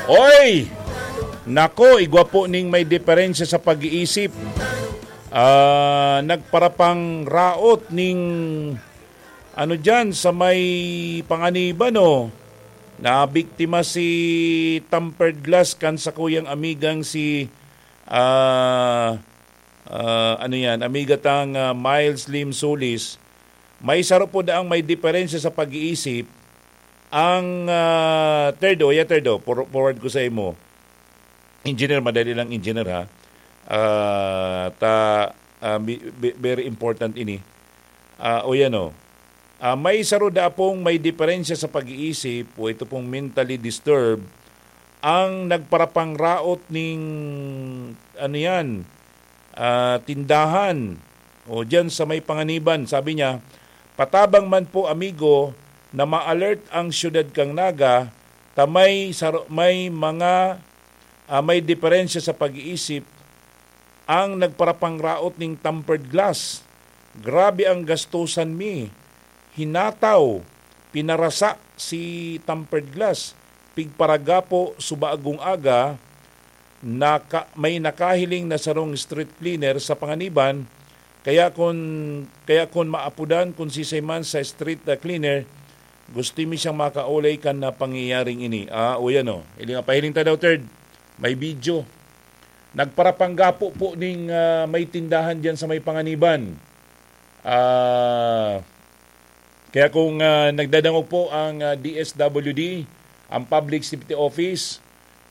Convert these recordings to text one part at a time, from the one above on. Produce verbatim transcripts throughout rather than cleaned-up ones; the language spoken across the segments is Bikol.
Oy! Nako, igwa po ning may diferensya sa pag-iisip. Ah, nagparapangraot ning ano diyan sa may Panganiban, oh. Nabiktima si tampered glass kan sakuyang amigang si, ah, ah, ano yan, amiga tang, ah, Miles Lim Solis. May saro po daang may diferensya sa pag-iisip. Ang, ah, third, oh, yeah, third, oh, for-, forward ko sa imo. Engineer, madali lang, engineer, ha. Ah, ta, ah, bi-, bi-, very important ini. Ah, o yan, oh. Ah, may saro da pong may diferensya sa pag-iisip o ito pong mentally disturbed ang nagparapangraot ning, ano yan, ah, tindahan o diyan sa may Panganiban. Sabi niya, "Patabang man po, amigo, na ma-alert ang siyudad kan Naga ta may saro-, may mga, ah, may diferensya sa pag-iisip ang nagparapangraot ning tampered glass. Grabe ang gastusan mi. Hinataw, pinarasa si tampered glass. Pigparagapo, subagong aga, naka-, may nakahiling na sarong street cleaner sa Panganiban, kaya kun, kaya kun maapodan kun sisay man sa street, ah, cleaner, gusto mi siyang makaolay kan na pangyayaring ini." Ah, o yan, oh. Ili nga, pahiling ta daw, third. May video. Nagparapanggapo po ning, ah, may tindahan diyan sa may Panganiban. Ah, kaya kung, ah, nagdadangog po ang, ah, D S W D, ang Public Safety Office,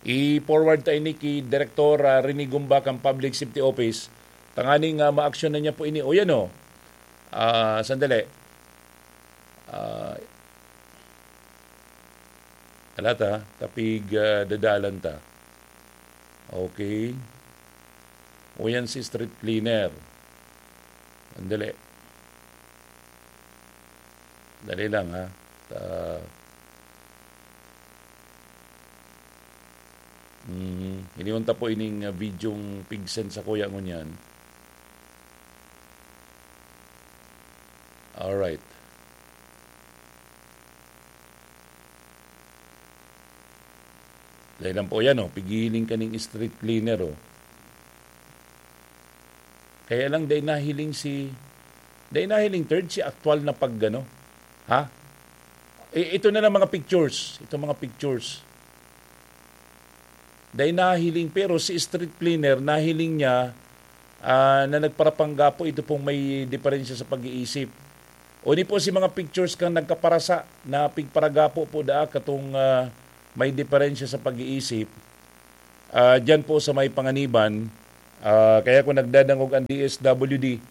i-forward ta ini ki Direktor, ah, Rene Gumba kan Public Safety Office. Tanganing, ah, maaksyon na niya po ini. O yan, oh. Ah, sandali. Ah, Ala ta, tapig, ah, dadalan ta. Okay. O yan si street cleaner. Sandali. Dali lang, ha. Ta-, mhm. Iniwan ta po ining, ah, videong pig-send sa kuya ngunyan. Alright. Dahil lang po yan, oh, pigiling ka ning street cleaner, oh. Kaya lang, dahil nahiling si, dahil nahiling third, si aktual na pag, ano, ha? I-, ito na lang mga pictures. Ito mga pictures. Dahil nahiling, pero si street cleaner, nahiling niya, ah, na nagparapanggapo ito pong may diferensya sa pag-iisip. O ni po si mga pictures kan nagkaparasa na pigparagapo po daa katong, ah, may diferensya sa pag-iisip. Ah, diyan po sa may Panganiban, ah, kaya kung nagdadangog ang D S W D,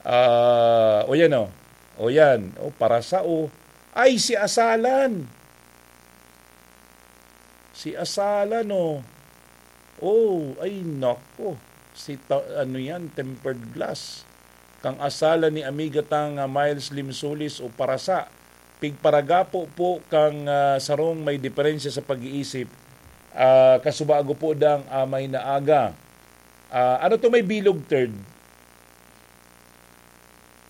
ah, o yan o. O yan. O, parasa o. Ay, si Asalan. Si Asalan o. Oh, ay nako. Si ta-, ano yan, tempered glass. Kang Asalan ni amiga tang, ah, Miles Limsulis o Parasa. Pigparagapo po kang, ah, sarong may diferensya sa pag-iisip, ah, kasubago po dang amay na aga. Ah, ano to may bilog, third?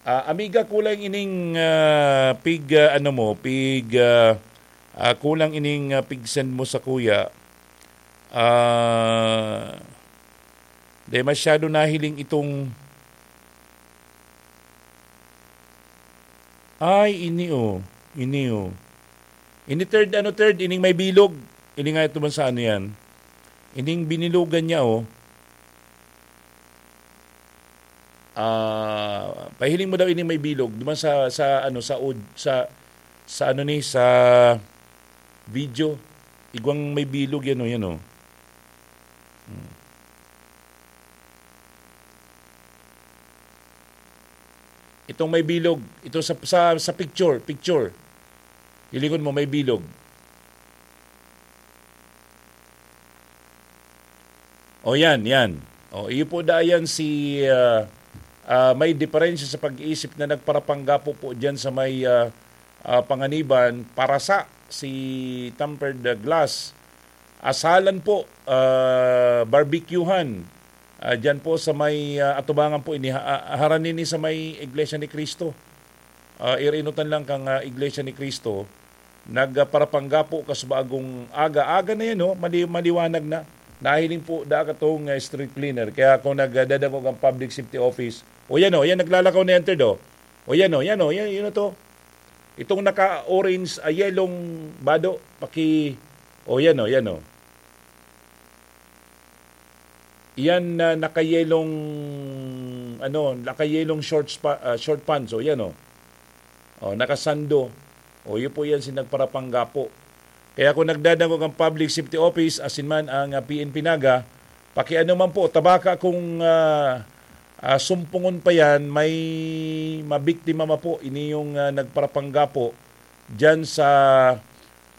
Ah, amiga, kulang ining, ah, pig, ah, ano mo, pig, ah, ah, kulang ining, ah, pig-send mo sa kuya. Ah, dahil masyado nahiling itong, ay, ini, oh. Ini, oh. Ini third, ano, third, ining may bilog. Ini nga ito man sa ano yan. Ining binilugan niya, oh. Ah, pahiling mo daw ini may bilog. Duman sa, sa, ano, sa ud-, sa, sa, ano ni, sa video. Igwang may bilog yan, oh, yan, oh. Hmm. Itong may bilog, ito sa, sa, sa picture, picture. Hilingon mo, may bilog. O yan, yan. O, iyo po da yan si, ah, ah, may diferensya sa pag-iisip na nagparapanggapo po diyan sa may, ah, ah, Panganiban, Parasa, si Tempered Glass. Asalan po, ah, barbecuehan. Ah, diyan po sa may, ah, atubangan po ini, ha-, ah, harani ni sa may Iglesia ni Cristo. Ah, irinutan lang kang, ah, Iglesia ni Cristo. nagparapanggapo kas bagong aga. Aga na yan, no? Mali-, maliwanag na. Nahiling po da katong, ah, street cleaner. Kaya kung nagdadangog ang public safety office, o yan, o, yan, naglalakaw na yan, Ted, o. O yan, o, yan, o, yan, yun na to. Itong naka-orange, ah, yelong bado, paki-, o yan, o, yan, o. Yan na nakayelong, ano, nakayelong shorts pa, ah, short pants, o yan, o. O, nakasando. O, yun po yan si nagparapanggapo. Kaya kung nagdadangog ang Public Safety Office, asin man ang, ah, P N P Naga, pakiano man po, tabaka kung, ah, ah, sumpungon pa yan, may mabiktima ma po, ini yung, ah, nagparapanggapo diyan sa,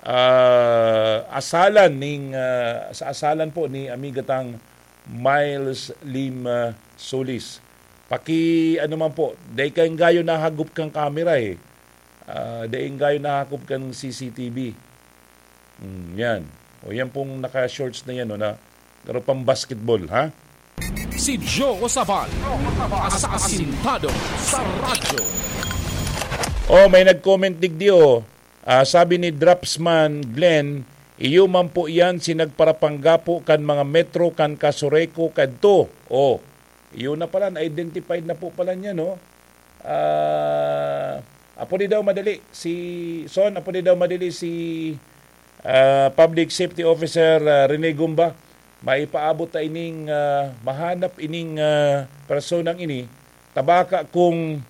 ah, asalan ning, ah, sa asalan po ni amiga tang Miles Lim, ah, Solis. Paki-, ano man po, dai kayong gayo nahagop kang kamera eh. Ah, dai gayo nahagop kang C C T V. Hmm, yan. O yan pong naka-shorts na yan, o, na, pero pang basketball, ha? Si Joe Sabal, asasintado sa radyo. Oh, may nag-comment digdi, oh. Ah, sabi ni Dropsman Glenn, "Iyo man po yan si nagparapanggapo kan mga metro kan Casureco kadto." Oh, iyo na pala, na-identified na po pala niya, no? Ah, apo ni daw madali si Son, apo ni daw madali si, ah, Public Safety Officer, ah, Rene Gumba. Maipaabot ta ining, ah, mahanap ining, ah, personang ini. Tabaka kung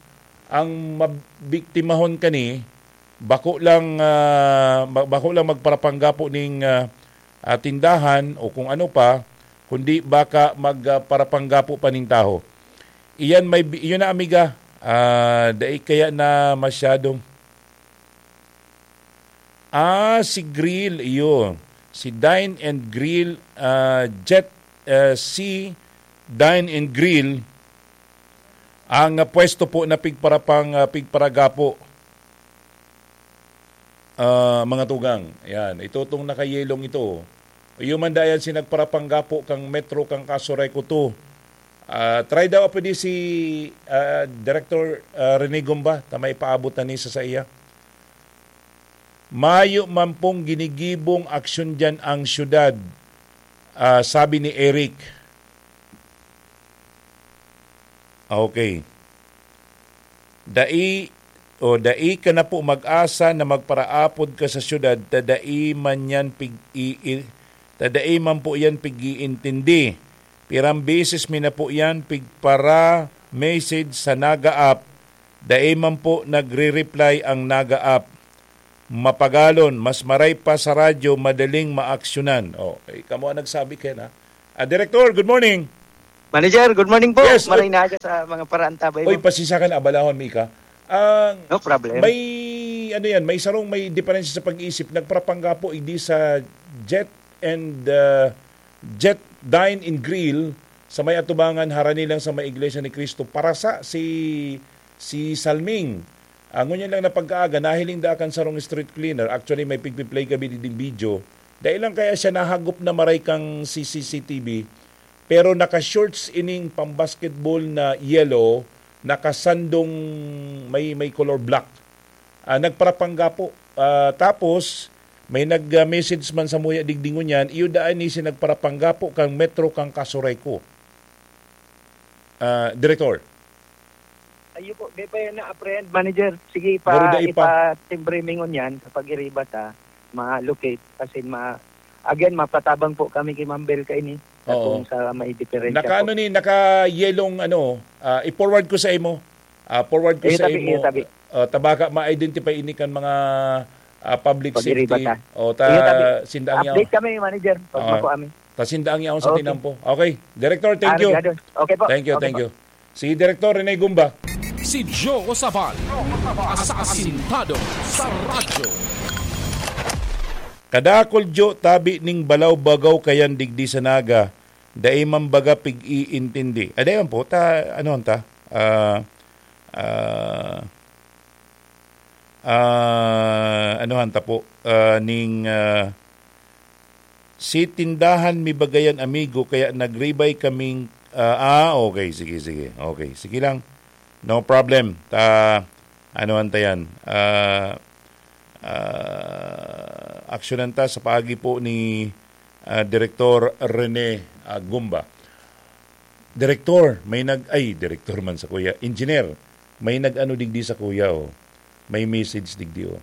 ang mabiktimahon kani, bako lang, ah, ba-, bako lang magparapanggapo ning, ah, ah, tindahan o kung ano pa, kundi baka mag, ah, parapanggapo pa ning taho. Iyan may bi-, iyon na, amiga. Ah, dai kaya na masyadong, ah, si Grill, iyo. Si Dine and Grill, ah, Jet, ah, si Dine and Grill, ang, ah, pwesto po na pigparapang, ah, pigparagapo, ah, mga tugang. Ayan, ito tong nakayelong ito. Iyo man dayan si nagparapanggapo kang Metro, kang Casureco two. Ah, try daw pwede si, ah, Director, ah, Rene Gumba, ta may paabot na ni sa saiya. Mayo man pong ginigibong aksyon diyan ang syudad, ah, sabi ni Eric. Okay. Dai, o dai ka na po mag-asa na magparaapod ka sa syudad, ta dai man yan pig-i-, ta dai man po yan pig-iintindi. Pirang beses mi na po yan pigpara-message sa Naga app, dai man po nagre-reply ang Naga app. Mapagalon, mas maray pa sa radyo, madaling maaksyonan. Oh, eh, kamo ang nagsabi kaya na. Ah, Director, good morning. Manager, good morning po. Yes, Maray oy. Na aga sa mga paraantabay Oy, mo. Pasensya ka na, abalahon mi ka. Ah, No problem. May, ano yan, may sarong may diferensya sa pag-iisip. Nagparapangga po, hindi sa Jet and, ah, Jet Dine and Grill sa may atubangan, harani lang sa may Iglesia ni Cristo. Para sa si, si Salming, ah, ngunyan lang na pagkaaga, nahiling da kan sarong street cleaner. Actually, may pigpi-play kami din video. Dahil lang kaya siya nahagop na maray kang C C C T V, pero naka-shorts ining pambasketball na yellow, nakasandong may, may color black. Ah, nagparapangga po. Ah, tapos, may nag-message man sa muya digdi ngunyan, iyo daan ni si nagparapangga po kang Metro kang Casureco. Ah, Director. Ayo po, di pa yan na-apprehend, manager. Sige, Pero pa, dai pa. Ipatimbre mi ngunyan sa pag-iriba ta, ma-locate, as in, ma-, again, mapatabang po kami kay Ma'am Bel kaini, sa Oo. kung sa may diferensya Naka, po. ano ni, naka-yelong, ano, ah, i-forward ko sa imo. Ah, forward ko Iyo sa tabi, imo. iyo tabi. Ah, tabaka ma-identify ini kan mga, ah, public Pag-iriba safety. ta. O, ta, Iyo tabi. Sindaang yaw. Update kami, manager, pag Ah, makuha mi. Ta sindaang yaon sa Okay. tinampo. Okay. Director, thank Ah, you. Obrigado. Okay po. Thank you, Okay thank po. you. Si Director Rene Gumba. Si Joe Sabal, asasintado sa radyo. Kadakol, Jo, tabi ning balaw-bagaw kayan digdi sa Naga, dai man baga pig-iintindi. Ah, dai man po, ta, ano ta? Ah, ah, ah, ano ta po? Ah, ning, ah, si tindahan mi bagayan, amigo, kaya nagribay kaming, ah, ah, okay, sige, sige. Okay, sige lang. No problem. Ta, ano ta yan? Ah, Ah, aksyonan ta sa paagi po ni, ah, Direktor Rene, ah, Gumba. Direktor, may nag-, ay, direktor man sa kuya, engineer, may nag-ano digdi sa kuya, oh. May message digdi, oh.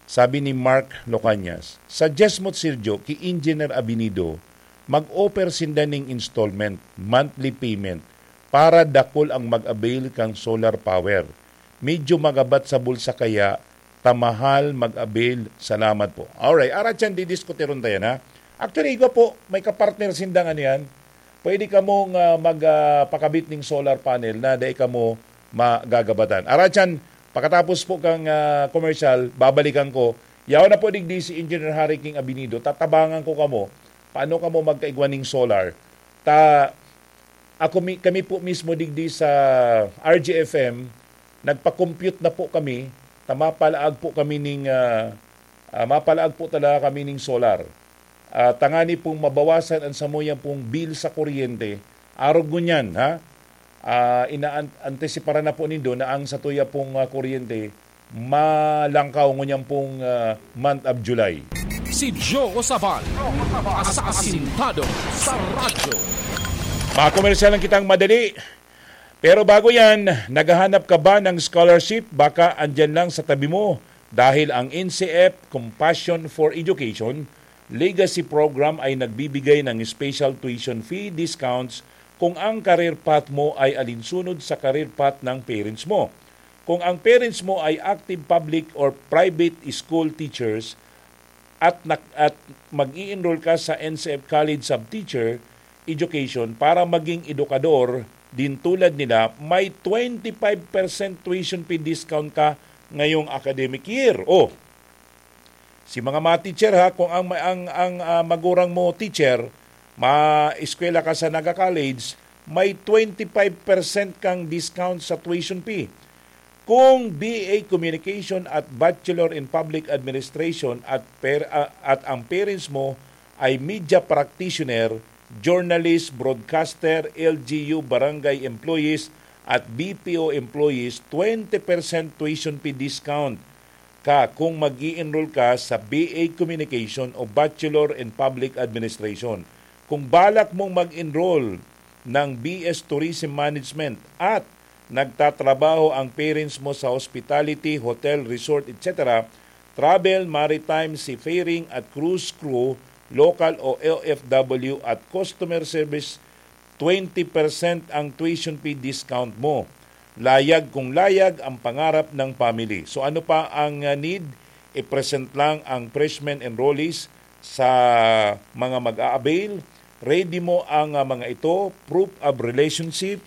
Sabi ni Mark Locanias, "Suggest mo, Sir Joe, ki Engineer Abinido, mag-offer sinda ning installment, monthly payment, para dakul ang mag-avail kan solar power. Medyo magabat sa bulsa kaya ta mahal mag-avail. Salamat po." Alright, arat yan, didiskuteron tayo na. Actually, igwa po, may kapartner sindang ano yan. Pwede kamong, ah, mag, ah, pakabit ning solar panel na dai kamo magagabatan. Arat yan, pakatapos po kang, ah, commercial, babalikan ko. Yaon na po digdi si Engineer Harry King Abinido. Tatabangan ko kamo. Paano kamo magkaigwa ning solar? Ta, ako mi-, kami po mismo digdi sa R G F M, nagpa-compute na po kami, ta mapalaag po kami ning, ah, ah, mapalaag po talaga kami ning solar. Ah, tangani pong mabawasan ang samuyang pong bill sa kuryente, arog ngunyan, ha? Ah, inaan-, antisiparan na po nindo na ang satuya pong, ah, kuryente malangkaw ngunyan pong, ah, month of July. Si Joe Sabal, asasintado sa radyo. Mga komersyal lang kitang madali. Pero bago yan, naghahanap ka ba ng scholarship? Baka andyan lang sa tabi mo. Dahil ang N C F Compassion for Education Legacy Program ay nagbibigay ng special tuition fee discounts kung ang career path mo ay alinsunod sa career path ng parents mo. Kung ang parents mo ay active public or private school teachers at nak-, at mag-i-enroll ka sa N C F College Sub-Teacher Education para maging edukador din tulad nila, may twenty-five percent tuition fee discount ka ngayong academic year. Oh, si mga, mga teacher ha, kung ang, ang, ang, ah, magurang mo teacher, ma-eskwela ka sa Naga College, may twenty-five percent kang discount sa tuition fee. Kung B A Communication at Bachelor in Public Administration at per-, ah, at ang parents mo ay media practitioner, journalist, broadcaster, L G U, barangay employees, at B P O employees, twenty percent tuition fee discount ka kung mag-i-enroll ka sa B A Communication o Bachelor in Public Administration. Kung balak mong mag-enroll ng B S Tourism Management at nagtatrabaho ang parents mo sa hospitality, hotel, resort, et cetera, travel, maritime, seafaring at cruise crew, local o O F W at customer service, twenty percent ang tuition fee discount mo. Layag kung layag ang pangarap ng family. So ano pa ang, ah, need? I-present lang ang freshmen enrollees sa mga mag-a-avail. Ready mo ang, ah, mga ito, proof of relationship,